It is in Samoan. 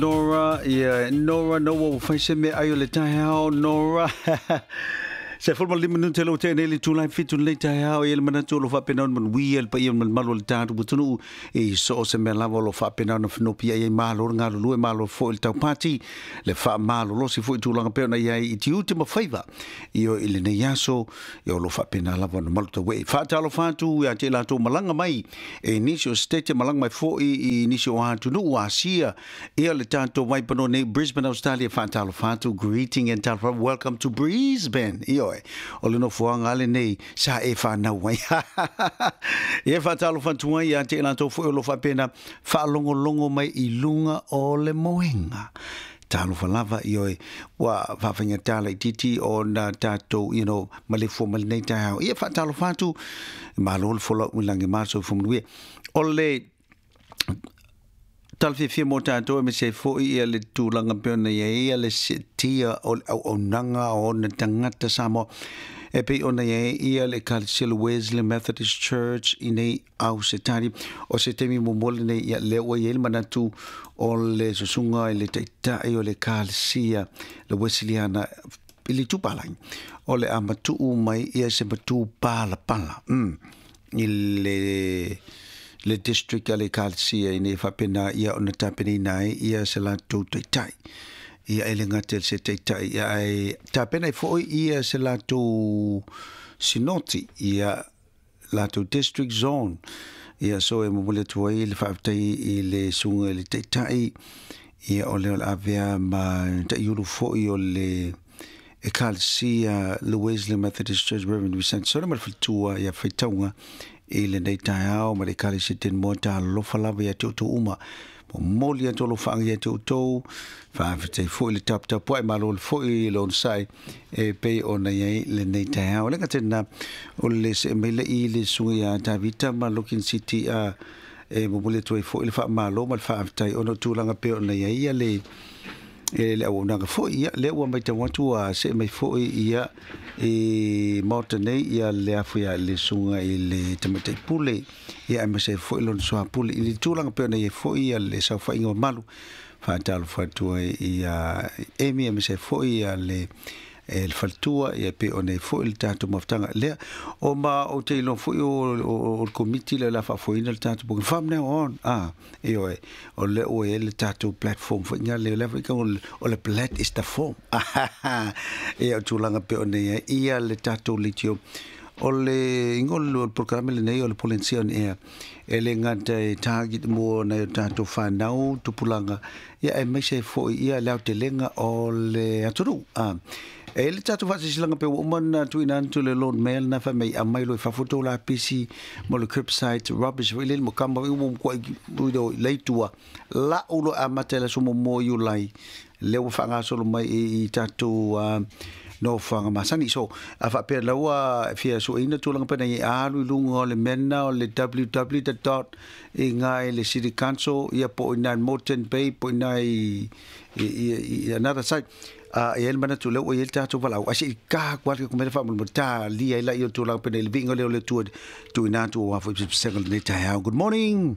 Nora, ia Nora, no ua fai se meaai o le taeao, Nora. Se 15 minute lo te nei le tūlai 7 lenei taeao, e le manatu o lo faapena ona manuia le paia ma le mamalu o le tatou atunuu i so o se mea lava o lo faapena ona fenopia ai. Malo le galulue, malo foi le taupati, le faamalolosi foi i tulaga pei ona i ai i tiute ma faiva ioe i lenei aso, ia o lo faapena lava ona malutauee. Faatalofa atu ia te i latou malaga mai e nisi o Setete, malaga mai foi i nisi o atunuu Asia, ia le tatou vaipanoa nei Brisbane, Australia. Faatalofa atu, greeting and talofa, welcome to Brisbane. Ioe, o le nofoaga lenei sa e whanau ai. Ia faatalofa atu ai ia te i latou foi o lo faapena faalogologo mai i luga o le moega. Talofa lava, ioe, ua faafaigata laitiiti ona tatou maleifua mai lenei taeao. Ia faatalofa atu, malo le folau i lagi ma le soifua manuia. O le tala fiafia mo tatou aemaise ai foi ia le tulaga pei ona i ai le siitia o le auaunaga o ona tagata Samoa e pei ona i ai ia le Ekalesia le Wesley Methodist Church i nei Ausetalia. O se taimi muamua lenei ia lea ua i ai le manatu o le susuga i le taitai o le Ekalesia le Wesleyana i le itupalagi o le a matuu mai ia se matu palapala i le district a le Ekalesia ina ia faapena ia ona tapenaina ai ia se latou taitai. Ia e le gata i se taitai, ia ae tapena ai foi ia se latou sinoti, ia latou district zone. Ia so e momoli atu ai le faafetai i le susuga i le taitai, ia o lea o le avea ma taiulu foi o le Ekalesia le Wesley Methodist Church, Reverend Vicente Sone ma le faletua ia faitauga i lenei taeao ma le Ekalesia Tenmoa. Talofa lava ia te outou uma. Momoli atu alofaaga ia te outou. Faafetai foi le taputapuai, malo le foi le onosai e pei ona i ai lenei taeao. Le gata i lena, o le see mai le i le susuga ia Tavita ma Looking City a e momoli atu ai foi le faamalo ma le faafetai ona o tulaga pei ona i ai ia le e le auaunaga foi. Ia lea ua matau atu ua see mai foi ia i Maota nei ia le afu ia le susuga i le Tamaitai Pule, ia aemaise ai foi lona soapule i le tulaga pei ona i ai foi ia le saofaiga mamalu. Faatalofa atu ai ia Amy aemaise ai foi ia le e le faletua, ia pei ona i ai foi le tatou mafutaga lea. O ma ou te iloa foi o le komiti lea o le a faafoeina le tatou program from now on. Ioe, o lea ua i ai le tatou platform foi nga lea foi o le plat is the form. Ia o tulaga pei ona i ai ia le tatou leitio. O le igoa o le programe lenei o le Polensia on Air, e le gata e target mo nai o tatou whanau, tupulaga, ia aemaise ai foi ia le aotelega o le atunuu. E le tatou faasilasilaga pe ua uma ona tuuina atu le Lord Mayor lena fai mai aumai loa i fafo tou lapisi mo le curbside rubbish foi lele mo kama foi ua matuai leitua lau loa amata i le aso muamua o Iulai lea ua faagasolo mai i tatou nofoaga masani. So a faapea la ua fia sueina tulaga pena i alu i luga o le mea lena o le www dot i ina i le City Council ia po o ina i Moreton Bay po o ina i another site. E i ai le manatu lea ua i ai le tatou valaau ae se i ka atu lava le mea lea faamolemole talia ai laia o tulaga pena i le viiga lea o le Atua tuuina atu aua foi pesepesega o lenei taeao. Good morning.